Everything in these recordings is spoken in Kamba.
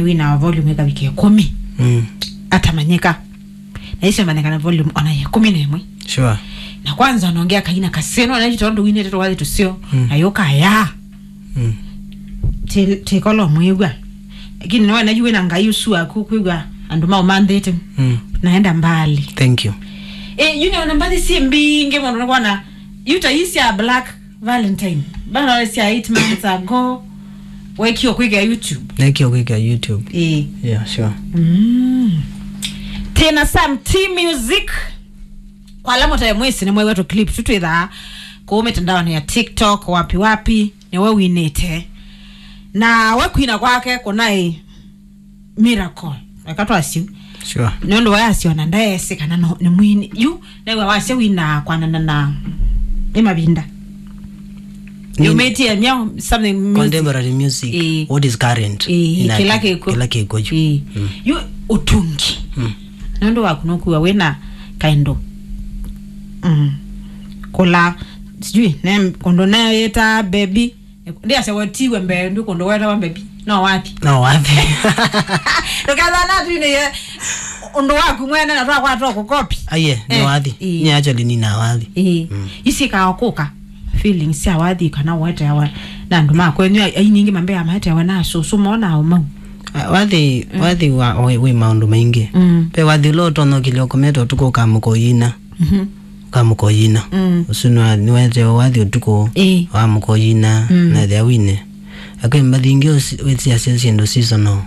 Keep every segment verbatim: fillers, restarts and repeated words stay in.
wĩna volume ĩkavika ĩkũmi. Mm. Atamanyĩka. Na icio manyĩka na volume ona ya ĩkũmi na ĩmwe. Sure. Na kwanza nongea kaina kaseno na tondũ winĩte twathi tusio. Mm. Na yoka ya. Mm. Ti-, tikolo mwĩw'a. Lakini no na yuwe na ngai usu aku kwĩw'a andũ mau manthĩte. Mm. Naenda mbali. Thank you. Eh, you know, na mbathi si mbingi mũno nĩkwana, you ta isi ya Black Valentine. Bana sya eight months ago. Wekio kwĩkĩa YouTube. Nekio kwĩkĩa YouTube. Eh. Yeah, sure. Mm. Tena some T music. Kwa ala mũtae mwĩsĩ nĩ mwewetũ clip tu twĩthaa kũu mĩtandaonĩ ya TikTok, wapi wapi, nĩwe winĩte. Na we kwina kwake kũnaĩ miracle. Eka twasyo. Sure. Nĩ ũndũ wayasyo na ndaesĩ kana no, nĩ mwini. Yu, nĩwe wasya wina kwanana na nĩ mavinda. Nĩ- Yumĩtie mya something music. Contemporary music, eh, what is current, eh, in kĩla kĩ-, kĩkw'o. Kĩla kĩkw'o yu. Eh. Mm. Yu ũtungi. Mm. Nũndũ waku nũkuwa wĩna kaĩndũ. Mm. Kũla, sijui, ne, kũndũ neyĩta baby. Ndiasya wetiwe mbee, ndũ kũndũ wetawa baby. No wathi. No wathi. Ndũkethana tu nĩ ye, ũndũ waku mwene na twakwata kũkopi. Aye, nĩ wathi. Eh. Nĩ actually nĩ na wathi. Eh. Mm. Isi kaokoka. Feelings sya wathi kana weteawa na andũ ma kwenyu, ai, ai nyingĩ mambea maeteawa na susu mona au mau. Ah, wathi, mm, wathi wa, wĩ, wĩ maũndũ maingĩ. Mm. Pe wathi ũla ũtonya ũkĩlya ũkomete ũtukũ ũkamũka ũyina. Mhm. Ũkamũka ũyina. Mm. Ũsu nĩwa-, nĩwetewa wathi ũtukũ, ĩĩ, wamũka ũyina, mm, na ethĩa wine. Akwĩ mbathi ingĩ ũsi-, wĩsiasya syĩndũ seasonal.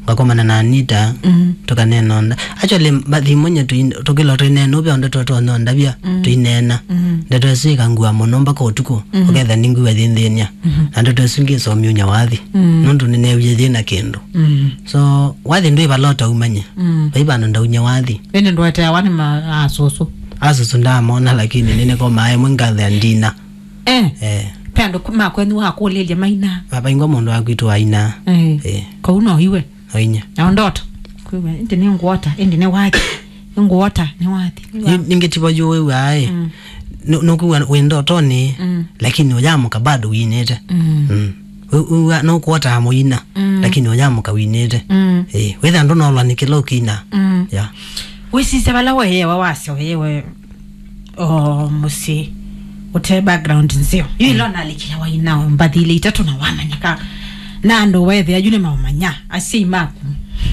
Ngakomana na Anita, mm, tũkanena onda. Actually, mbathi imwe nye tũi-, tũkĩla tũineena ũvya ndeto tũnondavya, mm, tũineena. Mm. Ndeto ĩsu ĩkangua mũno mpaka ũtukũ, mm, ũketha nĩngwĩwa yĩnthĩny'a. Mm. Na ndeto ĩsu ngĩsomyũnya wathi. Mm. Nũndũ nĩneewie yĩna kĩndũ. Mm. So, wathi ndwĩ vala ũtaumanye. Mm. Vai vandũ ndaunye wathi. Ĩndĩ ndweteawa nĩ ma-, asũsũ. Asũsũ ndamona, lakini nĩnĩkomaa ĩmwe ngathea ndina. Eh. Eh. Pe andũ ku-, ma kwenyu wakũlĩlya maina. Vaingwa mũndũ wa kwitũ aina. Eh. Eh. Kau no iwe. Ainya. Na ndoto. Kwĩw'a, ĩndĩ nĩ ngwota, ĩndĩ nĩ wathi. Nĩ ngwota, nĩ wathi. Nĩ- ningĩ tivo yu wĩw'aa ĩ. Mm. Nũ-, nũkwĩw'a wĩ ndotonĩ, mm, lakini ũyamũka bado winĩte. Mm. Mm. Wĩ-, wĩw'a nũkwotaa mũina, mm, lakini ũyamũka winĩte. Mm. Eh, wĩtha ndũnolwa nĩ kĩla ũkina. Mm. Yeah. Wĩsisya vala weewa wasya weewe o mũsyĩ ũte background nzeo. Yu ĩla, mm, ũnalikile waina mbathi ile itatũ na wamanyĩka na andũ wethĩa yu nĩmaũmanya asyai maku.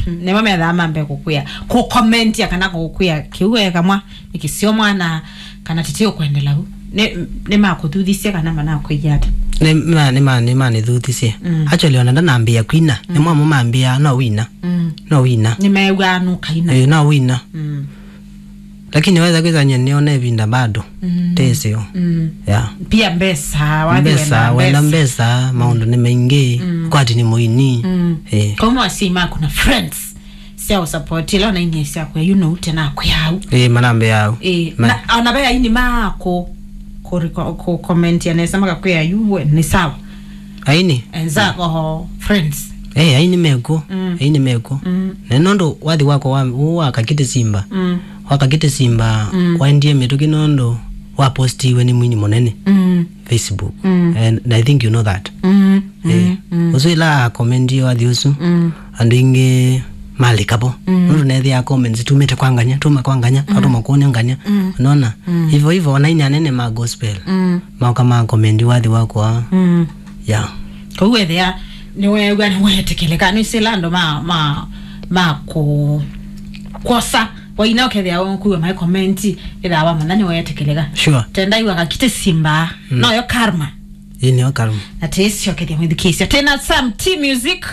Nĩmo methaa mambe kũkwĩa, kũkomentia kana kũkwĩa kĩu ekamwa nĩ kĩseo mwana kana tete ũkwendela u. Nĩ, nĩmakũthuthisye kana manakwĩie ata? Nĩ ma-, nĩ ma-, nĩmanĩthuthisye. Mm. Actually, ona ndanambĩĩa kwina, mm, nĩmo amwe mambĩaa, "No wina. Mm. No wina." Nĩmeew'aa nũkaina. Eh, no wina. Mm. Lakini weza kwĩsany'a nĩona ĩvinda bado. Mm. Teseo. Mm. Yeah. Pia mbesa, wathi mbesa, wenda wenda mbesa. Mbesa, maũndũ nĩ maingĩ. Mm. Kwati nĩ mũini. Mm. Eh. Kauma asyai maku na friends sya ũsapoti ĩla ũnainie syakwĩa yu nũu tena kwĩau. Eh, manambĩau. Eh, ma- na, ona ve aini maku kũriko-, kũkomentia nesa makakwĩa yu we, nĩ sawa. Aini? Enzako, friends. Eh, aini mekuo. Mm. Aini mekuo. Mm. Na nũndũ wathi wakwa wa, wa Kakiti Simba. Mm. Wa Kakiti Simba, mm, waendie mĩtũkĩ nũndũ wapostiwe nĩ mwini mũnene. Mm. Facebook. Mm. And I think you know that. Mm. Eh, mm, mm. Ũsu ĩla akomentie wathi ũsu, mm, andũ aingĩ malikapo. Mm. Nũndũ nethĩaa comments tumĩte kwa nganya, tuma kwa nganya, mm, atuma kuonia nganya. Mm. Unaona? Mm. Hivyo hivyo, ona inya nene ma gospel. Mm. Maoka ma comment wathi wakwa. Mm. Yeah. Kau wethĩa nĩweew'a nĩwetekeleka, nĩsila andũ ma, ma, ma kũ-, kwosa. Waina ũkethĩa ũkuwa mai comment, ĩthaa wamanya nĩwetekeleka. Sure. Tendaiwa Kakiti Simba. Mm. Noyo karma. Ĩĩ, nĩyo karma. Na tĩsyokethya mwĩthukĩĩsya. Tena some T music.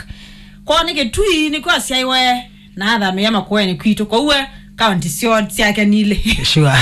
Kwoo nĩ Kĩtui, nĩkwasyaĩwe. Na athamĩĩa Makueni kwitũ. Kwoou we, kaunti syo syake nilĩ. Sure.